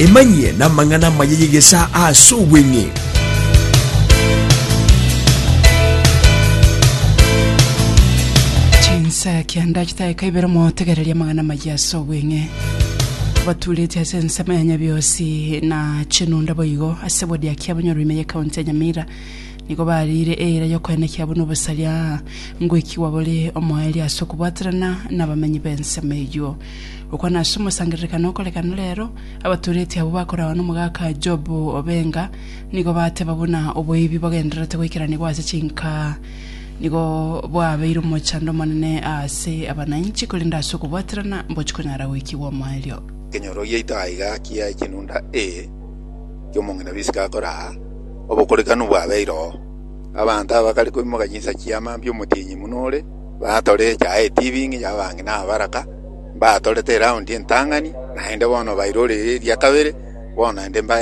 Emanyie namang'ana amaya y'egesaa ase obweng'e. Chinsa kianda chidakika ibere motegererie amang'ana amaya ase obweng'e. Batureti ase ensemo ya Nyabiosi na Chinunda boigo ase ward ya Kiabonyoru ime y'ekaunti ya Nyamira nigo bariire eira y'okoenekia buna obosaria ngoikigwa bore omoerio ase okobwaterana nabamenyi b'ensemo eyio. Gokwana ase omosangererekano okorekana rero, abatureti abwo bakoragwa nomogaka Job Obenga nigo bateba buna oboibi bogendererete goikeranigwa ase chinka nigo bwabeire omochando omonene ase abanainchi, korende ase okobwaterana mbochi konyara goikigwa omoerio. Ekenyoro giaito aiga kia chinunda A ki'omong'ina bisiko akore aa, obokorekanu bwabeire oo. Abanto aba bakare koimoka chinsa chia mambia omotienyi buna ore, batore echae etibing'i y'abang'ina abaraka, mbatorete eraundi entang'ani, naende bono bairorire eria kabere, bono naende mbae.